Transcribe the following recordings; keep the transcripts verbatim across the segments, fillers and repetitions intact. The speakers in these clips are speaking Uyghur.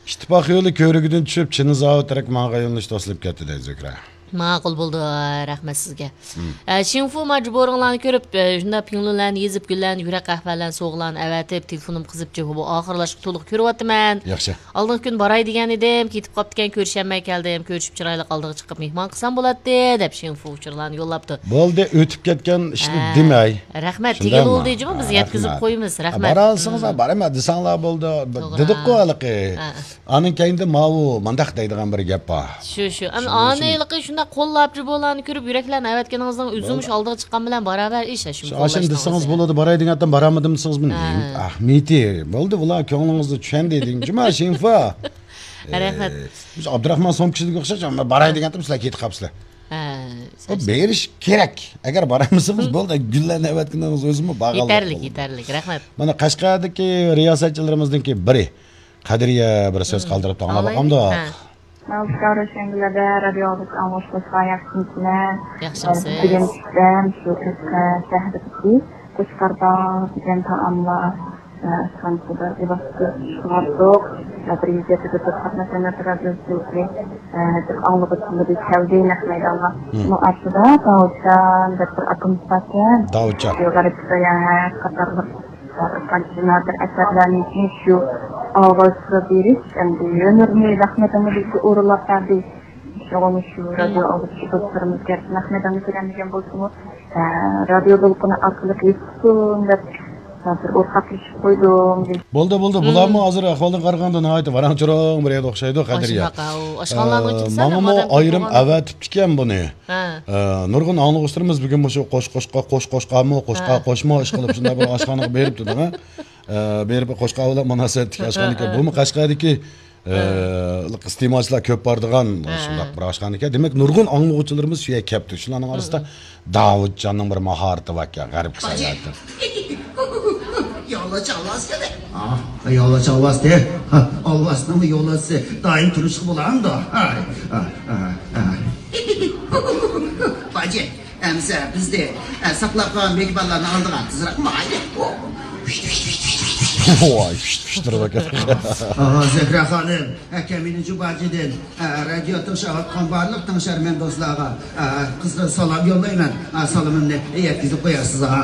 ئىتتىپاق يولى كۆۋرۈكىدىن چۈشۈپ، چىنزاۋ تەرەپ ماڭغان يۆنىلىشتە توسۇلۇپ كەتتى دەيدۇ زۆھرە. ماقۇل بولدى، رەھمەت سىزگە. ئە، شىڭفۇ ماجبۇرۇڭلارنى كۆرۈپ، ئە، شۇنداق پىڭلۇنلارنى يېزىپ، گۈللەرنى، يۈرەك قەھۋەلەرنى، سوغىلارنى ئەۋەتىپ، تېلېفونۇمغا قىزىپ، جۇ، بۇ ئاخىرلاشقا تولۇق كۆرۈۋاتىمەن. ياخشى. ئالدىنقى كۈنى باراي دېگەن ئىدىم، كېتىپ قاپتىكەن، كۆرۈشەلمەي كەلدىم. كۆرۈشۈپ چىرايلىق ئالدىغا چىقىپ مېھمان قىلسام بولاتتى، دەپ شىڭفۇ ئۇچۇرلارنى يوللاپتۇ. بولدى، ئۆتۈپ كەتكەن ئىشنى ھە. دېمەي. رەھمەت، شۇنداقمۇ؟ دېگىلى بولدى جۇمۇ، بىز ھە، يەتكۈزۈپ رەھمەت. قويىمىز. ھە، رەھمەت. بارالىسىڭىز، ھە، بارىمەن دېسەڭلار بولدى. توغرا. دېدۇققۇ ھېلىقى. ھە. ئانىڭ كەينىدە ماۋۇ مانداق دەيدىغان بىر گەپ بار. شۇ، شۇ. ئەمما شۇ، ئانى شۇ. ھېلىقى شۇنداق قوللاپ جۇبۇلارنى كۆرۈپ، يۈرەكلەرنى ئەۋەتكىنىڭىزنىڭ ئۆزىمۇ شۇ ئالدىغا چىققان بىلەن باراۋەر ئىش، ھە، شۇ شۇ ئاشۇنى دېسىڭىز بولىدۇ، باراي دېگەنتىم بارالمىدىم دېسىڭىز، بۇ نېمە ئەھمىيىتى؟ بولدى، بۇلار كۆڭلىڭىزنى چۈشەندى دېگىن جۇما، شىنفا. رەھمەت. ئە، شۇ ئابدۇراخمان سومكىسىدىكى ئوخشاش، مەن باراي دېگەنتىم، سىلەر كېتىپ قاپسىلەر. ھە، بۇ بېرىش كېرەك. ئەگەر بارالمىسىڭىز، بولدى، گۈللەرنى ئەۋەتكىنىڭىز ئۆزىمۇ باغلىق. يېتەرلىك، يېتەرلىك. رەھمەت. مانا قەشقەردىكى رىياسەتچىلىرىمىزنىڭكى بىرى قەدرىيە بىر سۆز قالدۇرۇپتۇ، ئاڭلاپ باقامدۇق؟ ھە. ماۋۇ رۆشەنگۈلەردە رادىيو ئاڭلىشىمىزغا ياخشىمىكىن؟ ياخشىمسىز؟ بۈگۈن چۈشتە شۇ ئۆزكە شەھىرىدىكى قوچقارداغ دېگەن تائاملار ئاشخانىسىدا لىباس چىقىۋاتتۇق. بىر يۈز يەتتە قاتناشمايۋاتقان رادىيو ئاڭلىغۇچىلىرى كەلدى نەق مەيدانغا. مۇ ئارىسىدا داۋۇتجان دەپ بىر ئاكىمىز باركەن. داۋۇتجان. غەربىي ساياھەت قاتارلىق بىر قانچە نادىر ئەسەرلەرنى شۇ ئاۋازغا بېرىش ئەمدى ھۈنىرىنى نەق مەيداندا بىزگە ئورۇنلاپ بەردى. شۇڭا شۇ رادىيو ئاڭلىغۇچى دوستلىرىمىز گەرچە نەق مەيدانغا كىرەلمىگەن بولسىمۇ، ئە، رادىيو دولقۇنى ئارقىلىق يېتىشسۇن دەپ، بىر ئورتاقلىشىپ قويدۇم. بولدى، بولدى. بۇلارمۇ ھازىر ئەھۋالدىن قارىغاندا ناھايىتى ۋاراڭ-چۇرۇڭ بىر يەردە ئوخشايدۇ، قەدرىيە. ئاشۇنداق، ئاۋۇ، ئاشخانىلارنىڭ ئە، كىمسە ماڭىمۇ ئايرىم ئەۋەتىپتىكەن بۇنى. ھە. ئە، نۇرغۇن ئاڭلىغۇچىلىرىمىز بۈگۈن مۇشۇ قوش قوشقا، قوش قوشقامۇ، قوشقا ھە. قوشما ئىشقىلىپ شۇنداق بىر ئاشخانىغا بېرىپتۇ دەڭە. ئە، بېرىپ قوشقا بىلەن مۇناسىۋەتلىك ئاشخانىكەن. ھە، ھە. بۇمۇ قەشقەردىكى، ئە، ھە. ئىستېمالچىلار كۆپ بارىدىغان ھە. شۇنداق بىر ئاشخانىكەن. دېمەك، نۇرغۇن ئاڭلىغۇچىلىرىمىز شۇ يەرگە كەپتۇ. شۇلارنىڭ ئارىسىدا داۋۇتجاننىڭ بىر ماھارىتى باركەن، غەربىي ساياھەتتە. يالاچ ئالۋاس كەلدى. ئا، يالاچ ئالۋاستى. ھا، ئالۋاسنىڭمۇ يولۋاسى دائىم تۇرۇشقا بولامدۇ؟ ھاي، ئا، ئا، ئا. باجى، ئەمسە بىزنى، ئە، ساقلاپ قالغان مېھمانلارنى ئالدىغا تېزرەك ماڭايلى. ۋاي، پىشتىرىۋەتكەن. ئا، زۆھرە خانىم. ئەكەمىنى جۇباجىدىن، ئە، رادىيو تىڭشاۋاتقان بارلىق تىڭشارمەن دوستلارغا، ئە، قىزغىن سالام يوللايمەن. ئە، سالىمىمنى يەتكۈزۈپ قويارسىز، ھا.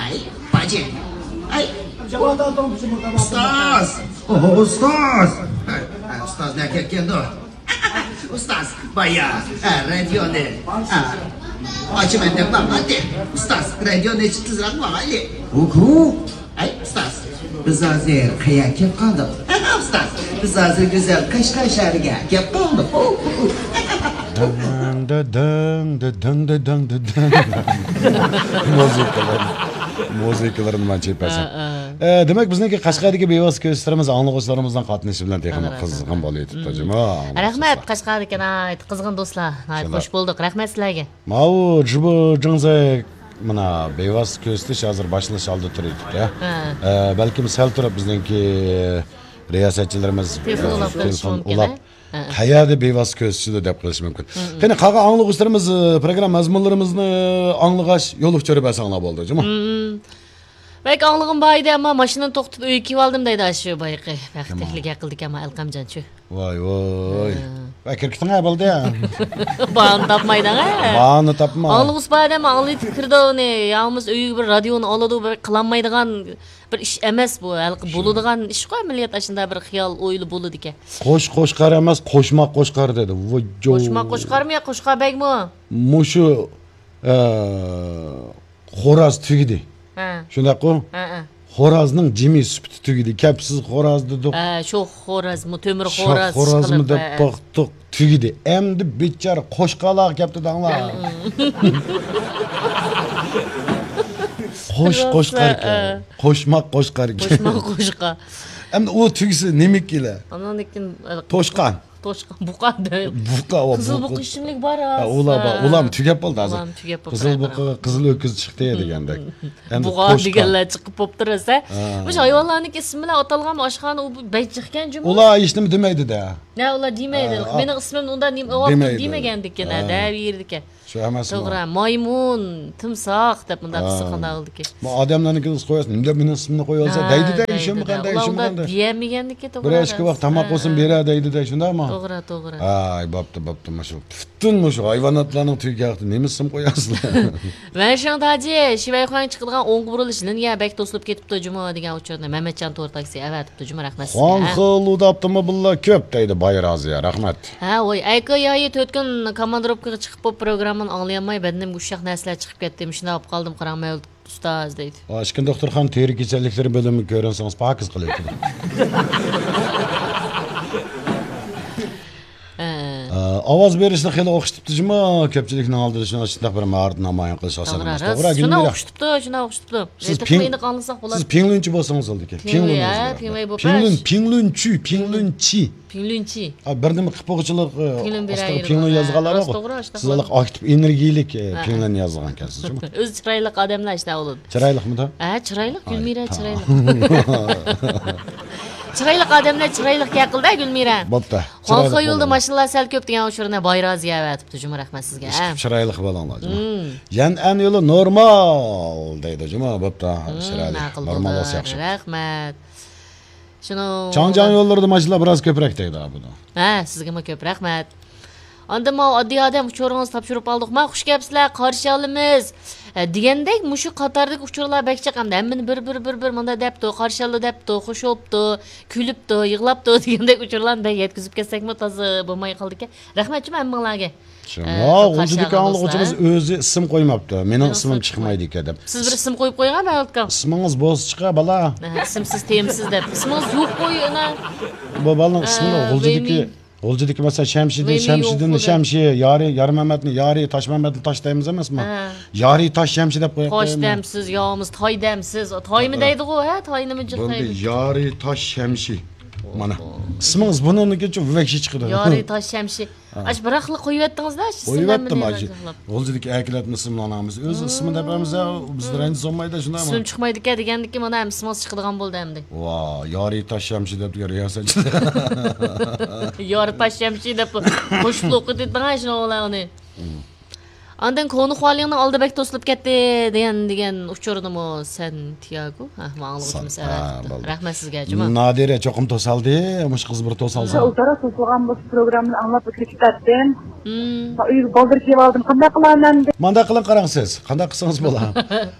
ئەي، باجى. ئەي. ئۇستاز. ئوھو، ئۇستاز. ئە، ئە، ئۇستاز نەگە كەتكەندۇ؟ ئۇستاز، بايا، ئە، رادىيونى، ئە، ئاچىمەن دەپ ماڭاتتى. ئۇستاز، رادىيونى ئېچىپ تېزرەك ماڭايلى. ھۇ، ھۇ. ئەي، ئۇستاز، بىز ھازىر قەيەرگە كەپ قالدۇق؟ ئۇستاز، بىز ھازىر گۈزەل قەشقەر شەھىرىگە كەپ قالدۇق. دىڭ، دىدىڭ، دىدىڭ، دىدىڭ، دىدىڭ. مۇزىكىلار، مۇزىكىلىرىنى مەن چېپەسەن. ئە، ئە. ئە، دېمەك، بىزنىڭكى قەشقەردىكى بىۋاسىتە كۆزىتىشلىرىمىز ئاڭلىغۇچىلىرىمىزنىڭ قاتنىشىشى بىلەن تېخىمۇ قىزغىن بولۇۋېتىپتۇ، جۇمۇ. رەھمەت، قەشقەردىكى ناھايىتى قىزغىن دوستلار. ناھايىتى خۇش بولدۇق. رەھمەت سىلەرگە. ماۋۇ جۇبۇ جىڭزەي مانا بىۋاسىتە كۆزىتىش ھازىر باشلىنىش ئالدىدا تۇرۇۋېتىپتۇ. ھە. ئە، بەلكىم سەل تۇرۇپ بىزنىڭكى رىياسەتچىلىرىمىز، تېلېفون ئۇلاپ قېلىشى مۇمكىن، ھە؟ قەيەردە بىۋاسىتە كۆزىتىشىدۇ دەپ قېلىشى مۇمكىن. قېنى، قالغان ئاڭلىغۇچىلىرىمىز، ئە، پروگرامما مەزمۇنلىرىمىزنى ئاڭلىغاچ يول ئۇچۇرى بەرسەڭلار بولدى، جۇمۇ. بەك ئاڭلىغۇم بار ئىدى، ئەمما ماشىنىنى توختىتىپ ئۆيگە كېلىۋالدىم دەيدۇ ئاشۇ بايىقى. بەختلىكلىك ھەققىدىكى ئەمما ئەلقەمجان شۇ. ۋاي، ۋاي. ھە. ۋاي، كىركىتىڭ ھە بولدى يا. باھانە تاپمايدىغان ھە. باھانە تاپما. ئاڭلىغۇسى بار ئادەم ئاڭلىتىپ كىرىدۇ ئۇنى. يا بولمىسا ئۆيگە بىر رادىيونى ئالىدۇ، بىر قىلالمايدىغان بىر ئىش ئەمەس بۇ. ھېلىقى بولىدىغان ئىشقۇ، ئەمەلىيەت ئاشۇنداق بىر خىيال ئويلا بولىدىكەن. قوش قوشقار ئەمەس، قوشماق قوشقار دېدى. ۋوججو. قوشماق قوشقارمۇ يا قوشقار بەگمۇ؟ مۇشۇ، ئە، خوراز تۈگىدى. ھە. شۇنداققۇ؟ ھە، ھە. خورازنىڭ جىمى سۈپىتى تۈگىدى. كەپسىز خوراز دېدۇق. ھە، شوخ خورازمۇ، تۆمۈر خوراز شوخ خورازمۇ دەپ باقتۇق، تۈگىدى. ئەمدى بىچارە قوشقالارغا كەپتۇ دەڭلار. قوش قوشقاركەن. ھە. قوشماق قوشقاركەن. قوشماق قوشقا. ئەمدى ئۇ تۈگىسە نېمىكىلە؟ ئاندىن كېيىن، ئە، توشقان. توشقان، بۇقا دەل. بۇقا، ۋا، قىزىل بۇقا ئىچىملىك بار ھازىر. ھە، ئۇلار بار. ھە. ئۇلارمۇ تۈگەپ بولدى ھازىر. ئۇلارمۇ تۈگەپ بولدى. قىزىل بۇقا، قىزىل ئۆكۈز چىقتى دېگەندەك. ئەمدى بۇقا توشقان دېگەنلەر چىقىپ بوپتۇ راسا. ھە. مۇشۇ ھايۋانلارنىڭ ئىسمى بىلەن ئاتالغان ئاشخانا ئۇ بەك جىقكەن جۇمۇ. ئۇلار ھېچنېمە دېمەيدۇ-دە. نە، ئۇلار دېمەيدۇ. ھە. مېنىڭ ئىسمىمنى ئۇنداق نېمە ئاۋاپتۇ دېمەيدۇ. دېمىگەندىكەن، ھە. دەۋېرىدىكەن. شۇ ئەمەسمۇ؟ توغرا، مايمۇن، تىمساھ دەپ مۇنداق قىلسا قانداق بولىدىكى؟ بۇ ئادەملەرنىڭكىنى قويۇسىن، نېمە دېگەن ئىسىمنى قويۇۋالسا، ھە، دەيدۇ-دە، دەيدۇ-دە. ئۇلار ئۇنداق دېيەلمىگەنلىكى، توغرا. بىر ئىككى ۋاق تاماق بولسۇن، بېرە دەيدۇ-دە، شۇنداقمۇ؟ توغرا، توغرا. ھاي، بوپتۇ، بوپتۇ، مۇشۇ پۈتۈن مۇشۇ ھايۋاناتلارنىڭ تۈگى ھەقتە نېمە ئىسىم قوياسىلەر؟ ۋەنشىڭ تاجى، شىۋەيخۇاڭ چىقىدىغان ئوڭغا بۇرۇلۇش لىنىيە بەك توسۇلۇپ كېتىپتۇ جۇمۇ دېگەن ئۇچۇرنى مەمەتجان تور تاكسى ئەۋەتىپتۇ جۇمۇ، رەھمەت سىزگە. خۇاڭخې لۇدا ئاپتوموبىللار كۆپ دەيدۇ باي رازىيە، رەھمەت. ھە، ۋاي، ئەيكې يايى تۆت كۈن كوماندىروپكىغا چىقىپ بولۇپ پروگراممىنى ئاڭلىيالماي بەدىنىمگە ئۇششاق نەرسىلەر چىقىپ كەتتى، مۇشۇنداق بولۇپ قالدىم قاراڭ مەۋلۇت ئۇستاز دەيدۇ. ئىچكىرى دوختۇرخانا تېرە كېسەللىكلىرى بۆلۈمىگە كۆرۈنسىڭىز پاكىز قىلىۋېتىدۇ. ھە. ئاۋاز بېرىشنى خېلى ئوخشىتىپتۇ جۇمۇ، كۆپچىلىكنىڭ ئالدىدا شۇنداق بىر ماھارەت نامايان قىلىش ئاساسەن ئەمەس. توغرا، شۇنداق ئوخشىتىپتۇ، شۇنداق ئوخشىتىپتۇ. سىز پىڭ-، سىز پىڭلۈنچى بولسىڭىز بولىدىكەن. پىڭلۈن، پىڭلۈن، پىڭلۈنچۈ، پىڭلۈنچى. پىڭلۈنچى. ھا، بىر نېمە قىپقوغۇچىلىق، ئاستىغا پىڭلۈن يازغانلار بار. سىز ئاكتىپ ئېنېرگىيىلىك پىڭلۈن يازغانكەنسىز جۇمۇ. ئۆزى چىرايلىق ئادەملەر شۇنداق بولىدۇ. چىرايلىقمىدا؟ ھە، چىرايلىق، گۈلمىرە چىرايلىق. چىرايلىق ئادەملەر چىرايلىق گەپ قىلدى گۈلمىرە. بوپتۇ. خۇاڭخې يولدا ماشىنىلار سەل كۆپ دېگەن ئۇچۇرنى باي رازىيە ئەۋەتىپتۇ جۇمۇ، رەھمەت سىزگە. ئىشقىپ چىرايلىق بولۇڭلار جۇمۇ. يەنئەن يولى نورمال دەيدۇ جۇمۇ، بوپتۇ. چىرايلىق. ماقۇل، نورمال بولسا ياخشى. رەھمەت. شۇنىڭ چاڭجياڭ يوللىرىدا ماشىنىلار بىراز كۆپرەك دەيدۇ بۇنى. ھە، سىزگىمۇ كۆپ رەھمەت. ئاندىن ماۋۇ ئاددىي ئادەم ئۇچۇرىڭىزنى تاپشۇرۇپ ئالدۇق. ما، خۇش كەپسىلەر، قارشى ئالىمىز. ھە، دېگەندەك مۇشۇ قاتاردىكى ئۇچۇرلار بەك جىق ئەمدى. ھەممىنى بىر، بىر، بىر، بىر مۇنداق دەپتۇ، قارشى ئالدى دەپتۇ، خۇش بوپتۇ، كۈلۈپتۇ، يىغلاپتۇ دېگەندەك ئۇچۇرلارنى بەك يەتكۈزۈپ كەتسەكمۇ تازا بولماي قالىدىكەن. رەھمەت جۇمۇ ھەممىڭلارگە. شۇڭا غۇلجىدىكى ئاڭلىغۇچىمىز ئۆزى ئىسىم قويماپتۇ. مېنىڭ ئىسمىم چىقمايدىكەن دەپ. سىز بىر ئىسىم قويۇپ قويغان مەۋلۇتكا. ئىسمىڭىز بولسا چىقە بالا. ئىسىمسىز تېمىسىز دەپ. ئىسمىڭىز يوق قوي ئانا. بۇ بالىنىڭ ئىسمى غۇلجىدىكى، غۇلجىدىكى مەسىلەن شەمشىدىن، شەمشىدىن، شەمشى، يارى، يارمەمەتنى يارى، تاشمەمەتنى تاش دەيمىز ئەمەسمۇ؟ يارى تاش شەمشى دەپ قويۇپ قويىمىز. تاش دەمسىز، يامىز، تاي دەمسىز. تايمۇ دەيدىغۇ، ھە، تاينىمۇ جىق دەيدۇ. يارى تاش شەمشى. مانا، ئىسمىڭىز بۇنىڭدىكىچە ۋەھشىي چىقىدۇ. يارى تاش شەمشى. ئاش بىراقلا قويۇۋەتتىڭىز-دە، ئىش ئىسىملارنى قويۇۋەتتىم، ھاجى. غۇلجىدىكى ئەركىلەتنى ئىسىملارنىڭ ھەممىسى ئۆز ئىسمى دەپ ھەممىسى بىز رەنجىسى بولمايدۇ، شۇنداقمۇ؟ ئىسمىم چىقمايدىكەن دېگەندىكىن مانا ھەممە ئىسمىڭىز چىقىدىغان بولدى ئەمدى. ۋا، يارى تاش شەمشى دەپ تۇرغان رىياسەتچى. يارى تاش شەمشى دەپ قوشۇپ ئوقۇتۇۋېتىڭ شۇنىڭ بىلەن ئۇنى. ئاندىن كونا خۇالىڭنىڭ ئالدى بەك توسۇلۇپ كەتتى دېگەن، دېگەن ئۇچۇرنىمۇ سەنتىياگو. ھە، ماڭا ئاڭلىغۇچىمىز ئەۋەتىپتۇ. رەھمەت سىزگە، جۇما. نادىرە چوقۇم توسالدى. مۇشۇ قىز بىر توسالسا. ئۇلترا توسۇلغان بولسا پروگراممىنى ئاڭلاپ ئۆتۈپ كېتەتتىم. ئۆيگە بالدۇر كېلىۋالدىم. قانداق قىلارمەن ئەمدى؟ مانداق قىلىڭ، قاراڭ سىز. قانداق قىلسىڭىز بولا.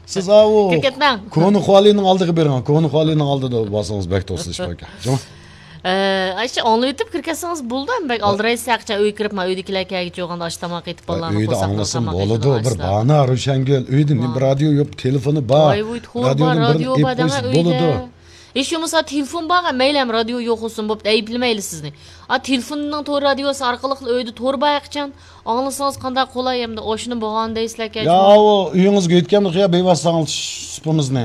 سىز ئاۋۇ كىرىپ كەتمەڭ. كونا خۇالىنىڭ ئالدىغا بېرىڭ. كونا خۇالىنىڭ ئالدىدا بارسىڭىز بەك توسۇلۇش باركەن. جۇما. ئە، ئاشۇ ئاڭلىۋېتىپ كىرىپ كەتسىڭىز بولىدۇ، ھەم بەك ئالدىرايسىز ھەقىچان ئۆيگە كىرىپ، مانا ئۆيدىكىلەر كەلگۈچە بولغاندا ئاش تاماق ئېتىپ بالىلارنى قورساقلىرىغا تاماق ئېتىدىغان ئاشلار. بولىدۇ، بىر باھانە روشەنگۈل. ئۆيدە نېمە رادىيو يوق، تېلېفونى بار. ۋاي، ۋۇي، تور بار، رادىيو بار دەڭە ئۆيدە. ھېچ بولمىسا تېلېفون بارغۇ، مەيلى ھەم رادىيو يوق بولسۇن، بوپتۇ، ئەيىبلىمەيلى سىزنى. ئا، تېلېفوننىڭ تور رادىيوسى ئارقىلىقلا ئۆيدە تور بار ھەقىچان. ئاڭلىسىڭىز قانداق قولاي ئەمدى، ئاشۇنى بولغان دەيسىلەركەن. يا، ئۇ ئۆيىڭىزگە يۆتكەمدۇق يا، بىۋاسىتە ئاڭلىتىش سۇپىمىزنى.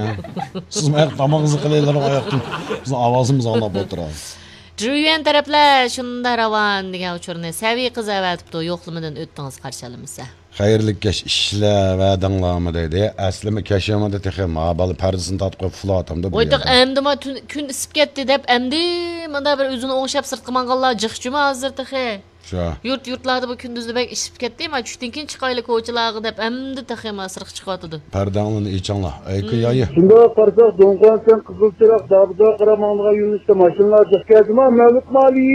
سىزمۇ ئاياق تامىقىڭىزنى قىلىۋېلىڭ ئاياقتىن. بىزنىڭ ئاۋازىمىز ئاڭلاپ ئولتۇرىدۇ. جۇيۈەن تەرەپلەر شۇنداق راۋان دېگەن ئۇچۇرنى سەۋىي قىز ئەۋەتىپتۇ، يوقلىمىدىن ئۆتتىڭىز، قارشى ئالىمىز. خەيرلىك كەچ، ئىشلەۋەردىڭلارمۇ دەيدۇ. ئەسلىمۇ كەچ يامىدى تېخى، ما بالا پەردىسىنى تارتىپ قويۇپ ئۇخلاۋاتامدۇ بۇ يەردە. ۋاي تېخى ئەمدىما تۈن، كۈن ئىسسىپ كەتتى دەپ ئەمدى مۇنداق بىر ئۆزىنى ئوڭشاپ سىرتقا ماڭغانلار جىق جۇما ھازىر تېخى. شۇ. يۇرت، يۇرتلاردا بۇ كۈندۈزدە بەك ئىسسىپ كەتتى، ما چۈشتىن كېيىن چىقايلى كوچىلارغا دەپ ئەمدى تېخى ما سىرتقا چىقىۋاتىدۇ. پەردەڭلارنى ئېچىڭلار، ئەيكى يايى. شۇنداق قارىساق، دوڭقان سەن قىزىل چىراغ دابىدا قاراپ ماڭىدىغان يۆنىلىشتە ماشىنىلار جىق كەلدىما، مەۋلۇت مالى.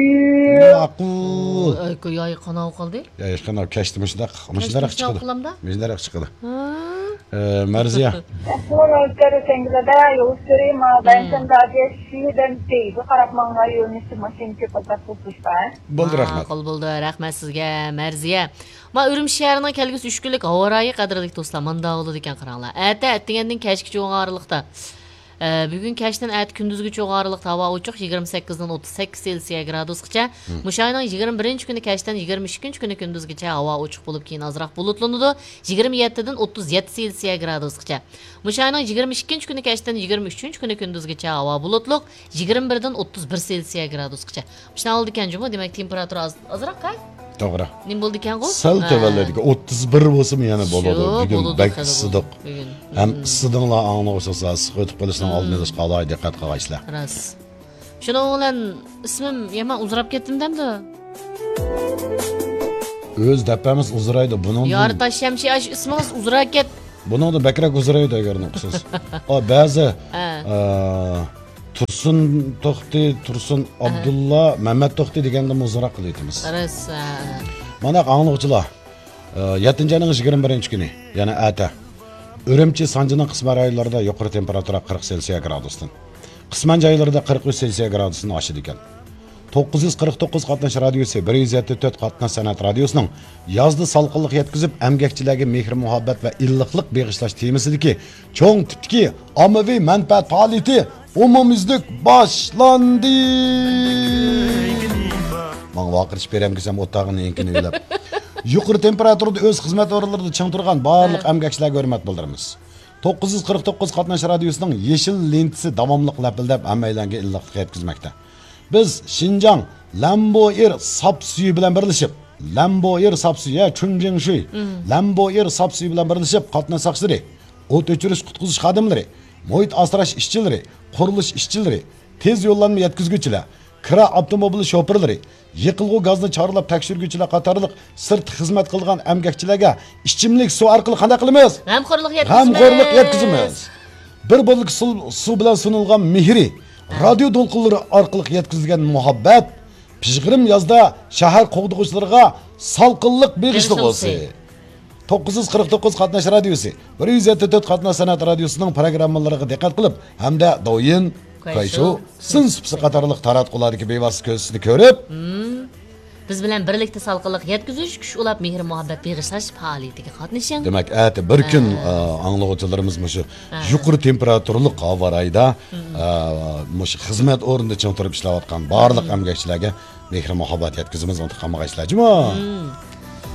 ماقۇل. ئەيكى يايى قاناۋ قالدى. يا، ھېچقانداق كەچتە مۇشۇنداق، مۇشۇنداق چىقىدۇ. مۇشۇنداق چىقىدۇ. ھە. ئە، مەرزىيە. ئەسلىمۇ نۆكەر سەڭگىلەردە يول سۈرى ما بەنسەندە ئادەش شىدەن تېيىگە قاراپ ماڭا يۆنىلىشتە ماشىنا كۆپ ئازراق توسۇلۇشتا. بولدى، رەھمەت. ماقۇل بولدى، رەھمەت سىزگە، مەرزىيە. ما ئۈرۈمچى شەھىرىنىڭ كەلگۈسى ئۈچ كۈنلۈك ھاۋا رايى قەدىرلىك دوستلار، مانداق بولىدىكەن قاراڭلار. ئەتە، ئەتىگەندىن كەچكىچە بولغان ئارىلىقتا. ئە، بۈگۈن كەچتىن ئەتە كۈندۈزگىچە بولغان ئارىلىقتا ھاۋا ئوچۇق، يىگىرمە سەككىزدىن ئوتتۇز سەككىز سېلسىيە گرادۇسقىچە. مم. مۇشۇ ئاينىڭ يىگىرمە بىرىنچى كۈنى كەچتىن يىگىرمە ئىككىنچى كۈنى كۈندۈزگىچە ھاۋا ئوچۇق بولۇپ، كېيىن ئازراق بۇلۇتلىنىدۇ، يىگىرمە يەتتىدىن ئوتتۇز يەتتە سېلسىيە گرادۇسقىچە. مۇشۇ ئاينىڭ يىگىرمە ئىككىنچى كۈنى كەچتىن يىگىرمە ئۈچىنچى كۈنى كۈندۈزگىچە ھاۋا بۇلۇتلۇق، يىگىرمە بىردىن ئوتتۇز بىر سېلسىيە گرادۇسقىچە. مۇشۇنداق بولىدىكەن جۇمۇ، دېمەك، تېمپېراتۇرا ئاز، ئازراق ھە؟ توغرا. نېمە بولىدىكەنغۇ؟ سەل تۆۋەنلەيدىكەن، ئوتتۇز بىر بولسىمۇ يەنە بولىدۇ. شۇ، بۈگۈن بولىدۇ، بەك ئىسسىدۇق. بۈگۈن. ھەم ئىسسىدىڭلار ئاڭلىغۇچىلار، ئىسسىق ئۆتۈپ قېلىشنىڭ ئالدىنى ئېلىشقا ئالاھىدە دىققەت قىلغايسىلەر. راست. شۇنىڭ بىلەن ئىسمىم يامان ئۇزىراپ كەتتىم دەمدۇ؟ ئۆز دەپپەمىز ئۇزىرايدۇ. بۇنىڭدىن يارتاش شەمشى، ئاشۇ ئىسمىڭىز ئۇزىراكەت. بۇنىڭدا بەكرەك ئۇزىرايدۇ، ئەگەر ئۇقسىز. ئا، بەزى، ھە. ئا، تۇرسۇن توختى، تۇرسۇن ئابدۇللا، مەمەت توختى دېگەندىمۇ ئۇزىراق قىلىۋېتىمىز. راست، ھە. مانا، ئاڭلىغۇچىلار، ئا، يەتتىنچى ئاينىڭ يىگىرمە بىرىنچى كۈنى، يەنى ئەتە، ئۈرۈمچى، سانجىنىڭ قىسمەن رايونلىرىدا يۇقىرى تېمپېراتۇرا قىرىق سېلسىيە گرادۇستىن، قىسمەن جايلىرىدا قىرىق ئۈچ سېلسىيە گرادۇستىن ئاشىدىكەن. توققۇز يۈز قىرىق توققۇز قاتناش رادىيوسى، بىر يۈز يەتتە تۆت قاتناش سەنئەت رادىيوسىنىڭ يازدا سالقىنلىق يەتكۈزۈپ، ئەمگەكچىلەرگە مېھىر-مۇھەببەت ۋە ئىللىقلىق بېغىشلاش تېمىسىدىكى چوڭ تىپتىكى ئاممىۋى مەنپەئەت پائالىيىتى ئومۇميۈزلۈك باشلاندى. ماڭا ۋارقىرىتىپ بېرەمكىسەم ئوتاغىنى ئېڭىكىنى ئۆيلەپ. يۇقىرى تېمپېراتۇرىدا ئۆز خىزمەت ئورۇنلىرىدا چىڭ تۇرغان بارلىق ھە. ئەمگەكچىلەرگە ھۆرمەت بىلدۈرىمىز. توققۇز يۈز قىرىق توققۇز قاتناش رادىيوسىنىڭ يېشىل لېنتىسى داۋاملىق لەپىلدەپ، ھەممەيلەنگە ئىللىقلىق يەتكۈزمەكتە. بىز شىنجاڭ لەمبوئېر ساپ سۈيى بىلەن بىرلىشىپ، لەمبوئېر ساپ سۈيى، ھە، چۈنجىڭشۈي، مم. لەمبوئېر ساپ سۈيى بىلەن بىرلىشىپ، قاتناش ساقچىلىرى، ئوت ئۆچۈرۈش قۇتقۇزۇش خادىملىرى، مۇھىت ئاسراش ئىشچىلىرى، قۇرۇلۇش ئىشچىلىرى، تېز يوللانما يەتكۈزگۈچىلەر، كىرا ئاپتوموبىل شوپۇرلىرى، يېقىلغۇ گازنى چارلاپ تەكشۈرگۈچىلەر قاتارلىق سىرتتا خىزمەت قىلغان ئەمگەكچىلەرگە ئىچىملىك سۇ ئارقىلىق قانداق قىلىمىز؟ غەمخورلۇق يەتكۈزىمىز. غەمخورلۇق يەتكۈزىمىز. بىر بولكا سۇ، سۇ بىلەن سۇنۇلغان مېھرى، رادىيو دولقۇنلىرى ئارقىلىق يەتكۈزۈلگەن مۇھەببەت، پىژغىرىم يازدا شەھەر قوغدىغۇچىلىرىغا سالقىنلىق بېغىشلىغۇسى. بېغىشلىغۇسى. توققۇز يۈز قىرىق توققۇز قاتناش رادىيوسى، بىر يۈز يەتتە تۆت قاتناش سەنئەت رادىيوسىنىڭ پروگراممىلىرىغا دىققەت قىلىپ ھەمدە دويىن، كايشۇ، كايشۇ، سىن سۇپىسى قاتارلىق تاراتقۇلاردىكى بىۋاسىتە كۆرسىتىشنى كۆرۈپ، مم. بىز بىلەن بىرلىكتە سالقىنلىق يەتكۈزۈش، كۈچ ئۇلاپ مېھىر-مۇھەببەت بېغىشلاش پائالىيىتىگە قاتنىشىڭ. دېمەك، ئەتە بىر كۈن، ھە. ئا، ئاڭلىغۇچىلىرىمىز مۇشۇ ھە. يۇقىرى تېمپېراتۇرىلىق ھاۋا رايىدا، مم. ئا، مۇشۇ خىزمەت ئورنىدا چىڭ تۇرۇپ ئىشلەۋاتقان بارلىق مم. ئەمگەكچىلەرگە مېھىر-مۇھەببەت يەتكۈزىمىز، ئۇنتۇپ قالمىغايسىلەر جۇمۇ. مم.